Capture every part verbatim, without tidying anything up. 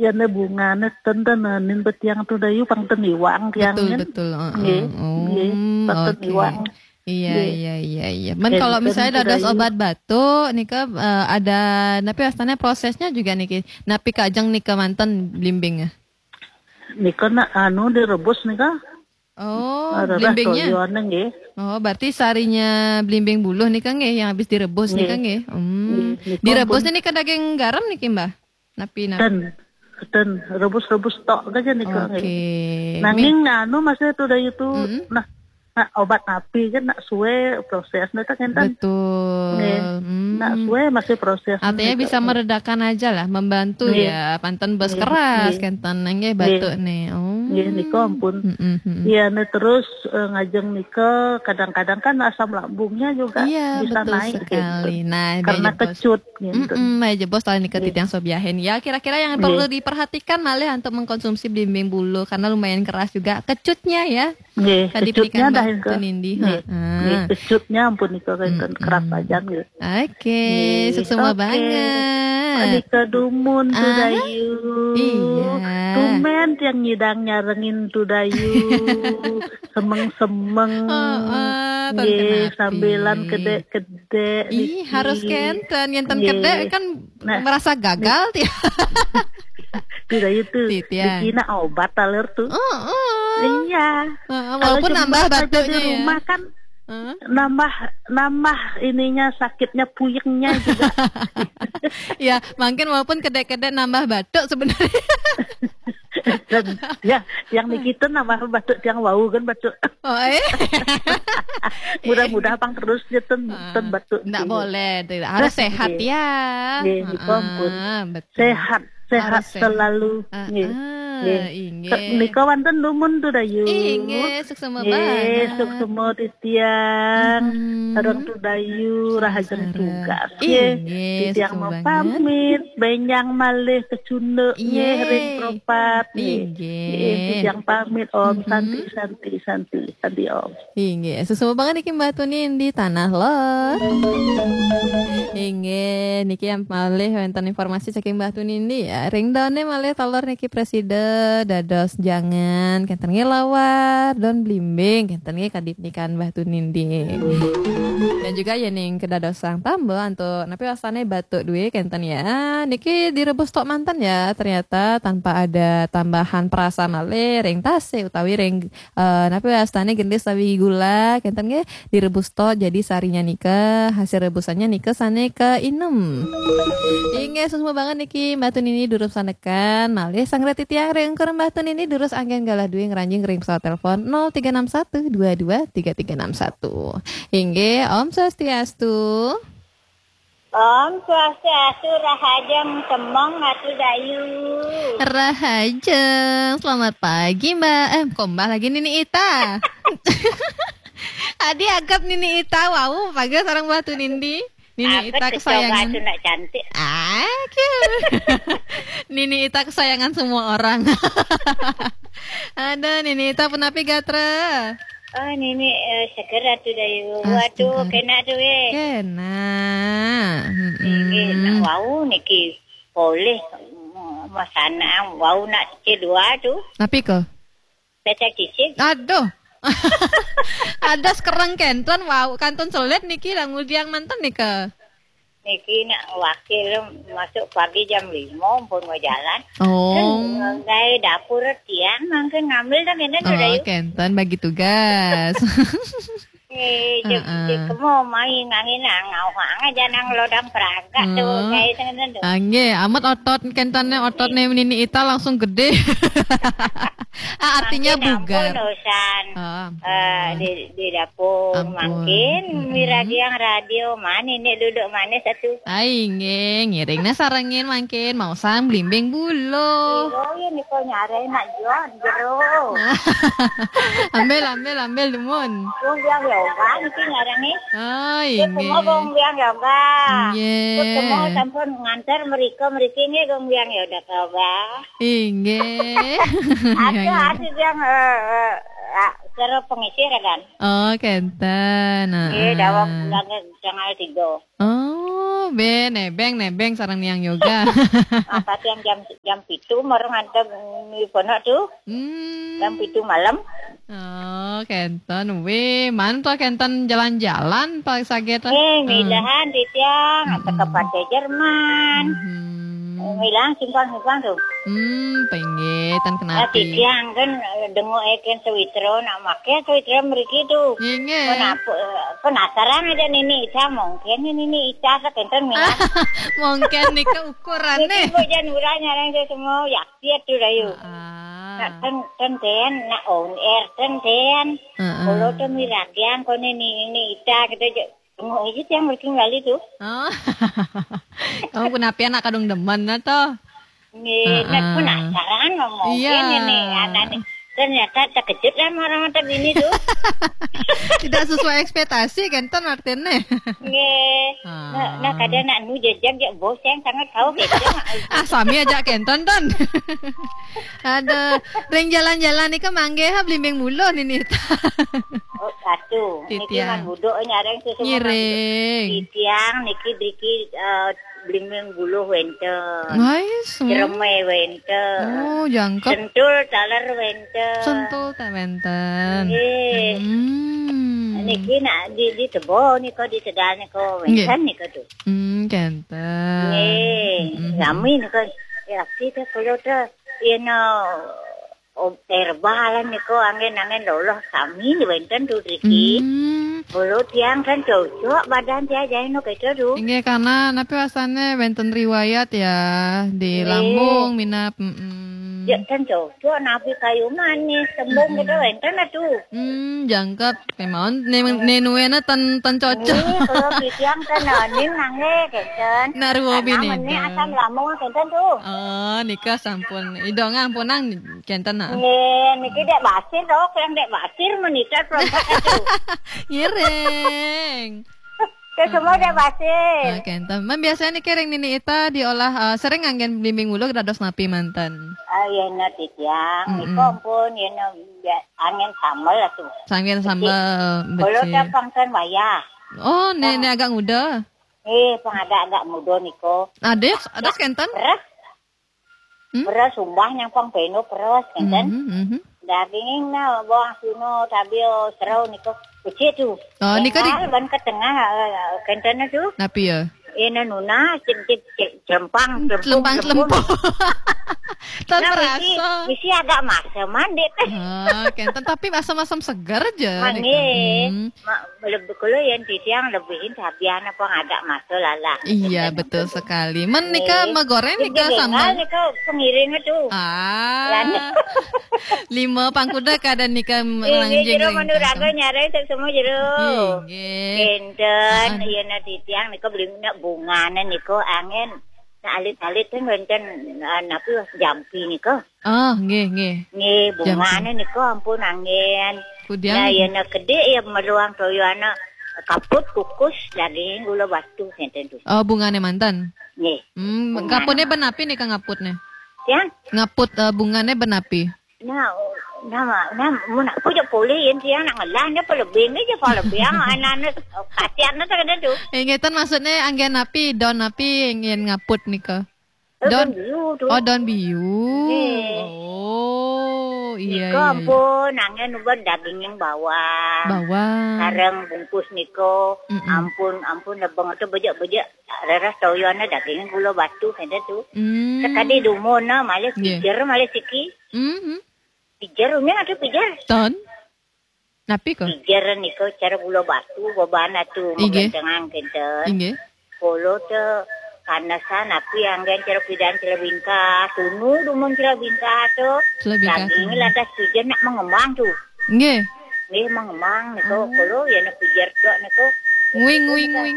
Yan ne bunga ne ten ten nin betiang tu dayu pang ten iwang tiang. Betul, betul. Nggih, nggih, pang ten iwang. Iya, iya, iya, iya. Men kalau misalnya dados obat batuk nika, eh, ada napi wastane prosesnya juga niki. Napi kajeng nika manten blimbing? Nika nak anu direbus nika. Oh, blimbingnya. Nggih. Oh, berarti sarinya blimbing buluh nika nggih yang habis direbus nika nggih. Hmm. Direbusnya nika daging garam niki, Mbah? Napi, napi? Ten, ten rebus-rebus tok aja nih kok. Oke. Nanging anu masih itu dari itu nah, nah, obat napi kan nak suwe prosesnya tak enten. Betul. Nggih. Hmm. Nak suwe masih proses. Artinya bisa meredakan aja lah, membantu ya, panten bes keras kenten nggih batuk nih. Oh. Nggih, niku ampun. Mm-mm. Iya, nih terus eh, ngajeng nika kadang-kadang kan asam lambungnya juga bisa naik gitu. Iya, betul sekali. Nah, karena kecut gitu. Mm-mm, nah, jebos tali nika titiang sobiahin. Ya, kira-kira yang perlu diperhatikan malih untuk mengkonsumsi blimbing buluh karena lumayan keras juga kecutnya ya. Nggih, kecutnya dah itu. Nindi. Nggih, kecutnya ampun itu kan keras aja nggih. Oke, suksma banget. Nika dumun tu dayu. Iya. Tumen tiang ngidang nyarengin tu dayu. Semeng-semeng. Heeh, nggih, sambilan kedek-kedek. Ih, harus kenten. Yang ten kedek kan merasa gagal tiang. Tidak itu. Dikira obat taler tuh. Heeh. Iya. Heeh, walaupun nambah batuknya di rumah kan nambah nambah ininya sakitnya puyengnya juga. Ya, mungkin walaupun kedek-kedek nambah batuk sebenarnya. Dan ya, yang niki ten nambah batuk tiang wau kan batuk. Oh, eh. Mudah-mudahan pang terus ya ten, ten batuk. Ndak boleh, tidak. Harus sehat ya. Nggih, niku ampun. Sehat, sehat selalu. Nggih. Nggih. Nika wonten dumun tu dayu. Inggih, suksma banget. Suksma titiang. Sareng tu dayu rahajeng tugas. Inggih, titiang mau pamit, benjang malih kecunduk nggih ring propat nggih. Inggih. Nggih, titiang pamit. Om Santi, Santi, Santi, Santi Om. Inggih, suksma banget niki Mbah Tunindi Tanah Lor. Inggih, niki yang malih wonten informasi saking Mbah Tunindi ya. Ring daune malih taler niki presida dados jangan kenten nggih lawar don blimbing kenten nggih kadipnikan Mbah Tunindi. Dan juga ya ning kedados sang tambel antuk napi wastane batuk duwe kenten ya. Niki direbus tok manten ya, ternyata tanpa ada tambahan perasa malih ring tasih utawi ring eh, napi wastane gendis tawi gula kenten nggih direbus to jadi sarinya nika hasil rebusannya nika sane ke inem. Inggih suksma banget niki Mbah Tunindi durus sanekan malih sang reti tiang ring engkur Mbah Tunindi durus anggen galah duwe ngranjing ring pesawat telepon nol tiga enam satu dua dua tiga tiga enam satu. Inggih Om Swastiastu. Om Swastiastu, rahajeng semeng Atu Dayu. Rahajeng, selamat pagi Mbak. Eh, kok Mbak lagi Nini Ita? Adi agap Nini Ita, wow, pagi sareng Mbak Tunindi. Nini Ita kesayangan. Atu nak cantik. Ah, cute. Nini Ita kesayangan semua orang. Aduh, Nini Ita punapi gatra? Oh, Nini eh, seger Atu Dayu. Waduh, kena tu eh. Kena. Niki nak wau niki boleh masana wau nak cicil dua tu. Napi ko? Becak cicil. Aduh. Ada sekereng kenten wau kantun selit niki lah ngudiang manten nika. Niki nak wakil masuk pagi jam lima pun mau jalan. Oh. Ngai dapur tiang mangkin ngambil dah kena tu Dayu. Oh, kenten bagi tugas. Eh, cek, cek kemo mai ngangin ngau hang aja nang lodang peraga tu ngai tengah tu. Angge, amat otot kentane otot ne Nini Ita langsung gede. Ah, artinya bugar. Urusan eh, di, di dapur mangkin miragi yang radio mana ini duduk mana satu. Ai nggih, ngiringnya sarengin mangkin mau sang blimbing buluh. Oh iya niko nyare nak John jero. Ambil ambil ambil dumun. Gong biang yoga niki nyare nih. Ai nggih. Semua gong biang yoga. Nggih. Semua sampun nganter mereka mereka nggih gong biang yoga. Inggih. Ada ada yang eh, eh, ah, Cara pengisir kan. Oh, kenten. Nggih, dawuh bulan tanggal tiga. Oh, be nebeng nebeng sareng niang yoga. Apa tiang jam jam pitu marang nganten ibu anak tuh. Hmm. Jam pitu malam. Oh, kenten. Wih, man to kenten jalan-jalan Pak Saget. Eh, milahan titiang, hmm, ke Partai Jerman. Hmm. Milahan simpang-simpang tuh. Hmm, pengen tan kenapa? Titiang kan, eh, dengo eken sewitra, nak make sewitra meriki tuh. Inge. Kenapa, eh, penasaran aja nini Ica, mungkin nini Ica kenten milahan. Mungkin nika ukurannya. Niki bojan urang nyarang saya semua ya. Iya tuh, Dayu. Ah. Nak ten ten ten, nak on air ten ten. Heeh. Kalau tuh miragian kau ini ini ita kita je. Tengok aja tiang berarti kali tuh. Oh. Kamu kenapa anak kadung demen atau? Nih, nak penasaran ngomong. Iya. Ini nih, anak nih. Ternyata terkejut lah orang mata bini tuh. Tidak sesuai ekspektasi kan, ten artinya. Nggih. Ah. Nah, nah, kadang nak nu jejak je bos yang sangat tahu gitu. Ah, sami aja kenten, ten. Ada ring jalan-jalan ni ke manggih ha blimbing buluh nini. Oh, satu. Niki titiang. Man buduk nyareng susu. Ngiring. Titiang niki driki, eh, blimbing buluh wenten. Nice. Hmm. Jereme wenten. Oh, jangkep. Sentul taler wenten. Sentul tak wenten. Nggih. Hmm. Niki nak di di tebo nika di tegal nika wenten nika tuh. Hmm, kenten. Nggih. Hmm. Rami nika. Ya, kita kalau tu, you know, oh, herbal nika angin-angin lolos sami wenten tuh driki. Hmm. Bulu tiang kan cocok badan tiang jahino kita tuh. Inggih, karena napi wasane wenten riwayat ya di lambung minap. Mm-mm. Ya kan cocok napi kayu manis, tembung kita wenten tuh. Hmm, jangkep. Memang ne ne nuena ten ten cocok. Ini kalau tiang kan ning nangge kenten. Naruo bini. Ini asam lambung kenten tuh. Oh, nika sampun. Idong ampunang kenten nah. Nggih, niki dek basir dok, yang dek basir menikah kelompok itu. Ngiring. Ke semua dek basir. Ah, kenten. Man biasanya niki ring nini ita diolah, eh, sering anggen blimbing buluh dados napi manten. Ah, iya na titiang. Mm-mm. Nika ampun, iya na angin sambel atuh. Angin sambel. Kalau becik. Kalau tak pangkan wayah. Oh, ne ne agak muda. Eh, pang agak-agak muda niko. Ada ada kenten? Beras. Hmm? Beras sumbah nyang pang peno beras kenten. Mhm, mhm. Daging na bawang suno tabil serau niko. Kecil tu. Oh, niko di ban ke tengah, eh, kenten tu. Napi ya? Ina nuna cem cem cem celempang celempung. Celempang celempung. Tan nah, misi, misi agak masa mandi teh. Oh, kenten tapi asam-asam segar aja. Manis. Hmm. Lebih kalau yang titiang lebihin sabian apa ngadak masuk lalah. Iya, betul sekali. Men nika megoreng nika sambal. Nika pengiring tu. Ah. Lima pangkuda kada nika melanjing jero ring manuraga kantong. Nyarai tak semua jero. Inggih. Kenten, ah, ah. Iya na titiang nika beli nak bungana nika angin. Nak alit-alit kan wenten, ah, napi jampi nika. Oh, nggih, nggih. Nggih, bungane nika ampun anggen. Kudiang. Nah, ya nak kedik ya meruang toyo anak kaput kukus daging gula batu senten tu. Oh, bungane mantan. Nggih. Hmm, kaputne ben api nika ngaputne? Ya? Ngaput, eh, bungane ben api. Nah, nama, nah, mun aku je boleh yen dia nak ngelah dia pelebih ni je pelebih anak-anak kasihan tu. Eh, ngeten maksudnya anggen api, don api ingin ngaput nika. Don biu tu. Oh, don biu. Nggih. Oh, iya, nika iya, iya. Ampun, angin uban daging yang bawang. Bawang. Sareng bungkus niko. Mm-mm. Ampun, ampun, lebeng tu bejek-bejek. Reras toyone daging gula batu kena tu. Hmm. Sekadi dumun na, malih pijer, malih siki. Mhm. Pijer, umin ada pijer. Ton. Napi ko? Pijer niko cara gula batu, beban atu, inggih, magentengang kenten. Inggih. Kolo te panesan api anggen cara pidan cara bingkah, tunu dumun cara bingkah tu. Cara bingkah. Daging tunu. Lantas pijer nak mengembang tu. Inggih. Nggih mengembang niko kolo ya nak pijer tu niko. Nguing, nguing, nguing.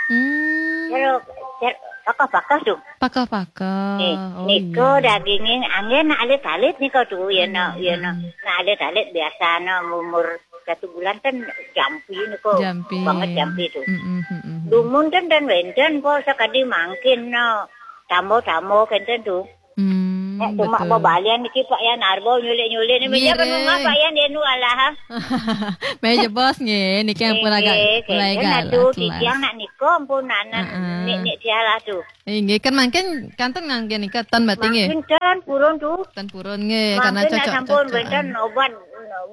Hmm. Cara, cara pakah-pakah tu. Pakah-pakah. Nih, oh, niko iya. Dagingnya anggen nak alit-alit niko tu, ya nak, ya nak. Hmm. Nak alit-alit biasa nak umur satu bulan kan jampi niko. Jampi. Banget jampi tu. Mm, mm, mm, mm. Dumun kan dan wenten po sekadi mangkin nak. Tambo-tambo kenten tu. Hmm. Nek cuma babalian niki Pak Yan Arbo nyulik-nyulik ni. Meja kan rumah Pak Yan dia nu alah. Meja bos nggih, niki ampun agak mulai galak. Titiang nak niko ampun anak nek nek dia lah tu. Inggih, kan mangkin kanten ngangge nika ten berarti nggih. Mangkin ten purun tu. Ten purun nggih, karena cocok. Sampun benten obat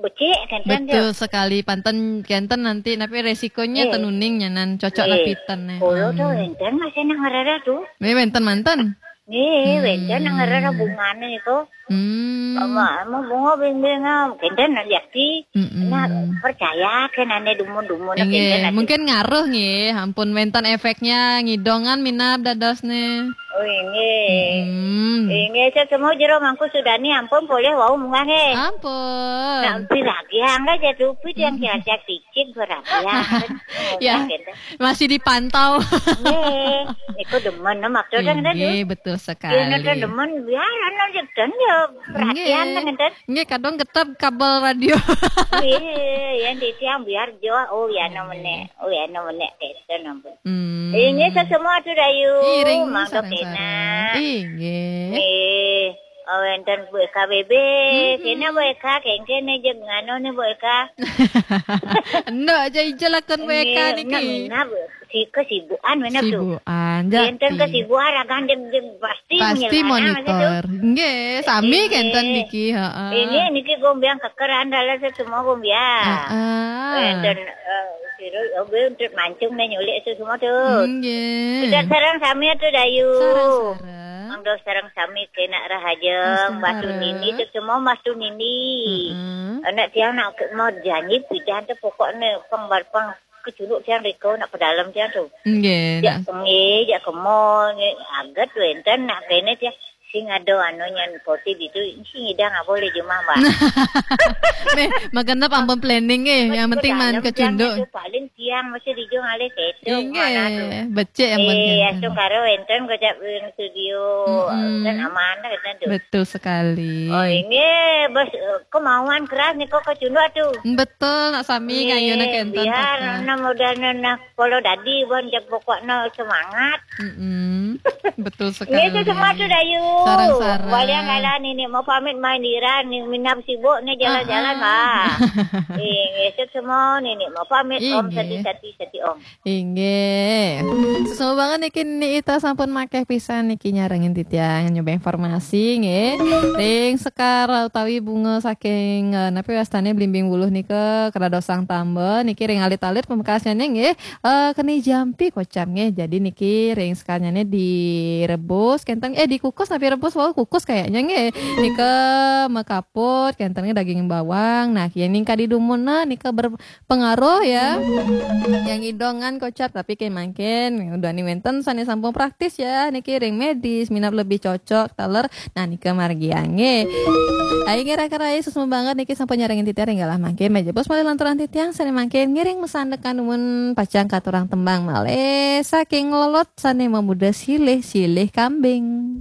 becik kanten. Betul sekali, panten kenten nanti tapi resikonya tenuning nyanan cocok napi ten. Kalau tu enten masih nak ngerara tu. Nggih, wenten manten. Nggih, wenten nang ngerara bungane niku. Hmm. Ama, ama bunga bing-bing ah, kenten liati. Nah, percaya kan ane dumun-dumun. Nggih, mungkin ngaruh nggih, ampun wenten efeknya ngidongan minab dadosne. Oh, nggih. Hmm. Nggih, saya semua jero mangku sudani ampun boleh wau munggah nggih. Ampun. Nah, piragian lah jatuh pit yang kiaca picik piragian. Ya. Masih dipantau. Nggih, iku demen no maksudnya kan tu. Nggih, betul sekali. Yen demen biar anu jek ten ya perhatian kan ten. Nggih, kadang getep kabel radio. Nggih, yang di tiang biar jo, oh ya no menek, oh ya no menek keten ampun. Hmm. Inggih sesemua tu dayu. Iring mangga sareng-sareng. Inggih. Nggih. Oh, wenten Bu Eka B B. Kena Bu Eka, kengken ne jeng ngano ne Bu Eka. Endo aja ijel akun Bu Eka niki. Nggih, nang, nang, si kesibukan mana tu? Sibukan, wenten kesibukan ragan jeng jeng pasti. Pasti monitor. Nggih, sami kenten niki, heeh. Ini niki gombiang kekeran dalam semua gombiang. Heeh. Wenten eh, siro obe untuk mancung ne nyulik semua tu. Nggih. Kita sareng sami tu dayu. Sareng-sareng. Mangga sareng sami kena rahaja, Mbah Tunini, semua Mbah Tunini. Anak tiang nak ke-, mau janji pidan tu pokoknya pang bar-, pang kecuruk tiang riko nak ke dalam tiang tu. Nggih. Jak nggih, jak ke mall, nggih. Agat wenten nak kene tiang sing ada anu nyan poti ditu, sing idang apa boleh jumah, Mbah. Meh, makan apa ampun planning eh, yang penting man kecunduk. Paling tiang masih di jong alih keto. Inggih, becik ampun. Eh, asung karo enten kocak ring studio. Kan aman lah kan tu. Betul sekali. Oh, ini bos eh, kemauan keras ni kok kecunduk tu. Betul, nak sami ngayu nak enten. Biar nak mudah nak polo dadi bon jak pokoknya semangat. Mm-mm. Betul sekali. Ini tu semua tu dayu. Sarang-sarang. Waliang kalah ni ni mau pamit main diran ni minap sibuk ni jalan-jalan bah. Eh, ngesek semua ni ni mau pamit om sati-sati sati om. Inggih. Sesama banget niki ni ita sampun makeh pisan niki nyarengin titiang nyoba informasi nggih. Ring sekar utawi bunga saking eh, napi wastane blimbing wuluh nika keradosang tamba niki ring alit-alit pamekasnya nggih. Eh, keni jampi kocap nggih. Jadi niki ring sekarnya nih direbus kenten eh dikukus napi rebus wau kukus kayaknya nggih. Nika mekaput kenten daging bawang. Nah, yang ningka di dumun nah nika berpengaruh ya. Yang idongan kocap tapi kayak mangkin udah nih wenten sane sampun praktis ya. Niki ring medis minap lebih cocok taler. Nah, nika margi ange. Ayo ngira kerai susmu banget niki sampun nyarengin titiang ring galah mangke meja bos malih lanturan titiang sane mangke ngiring mesandekan dumun pacang katurang tembang malih saking lolot sane mamuda silih-silih kambing.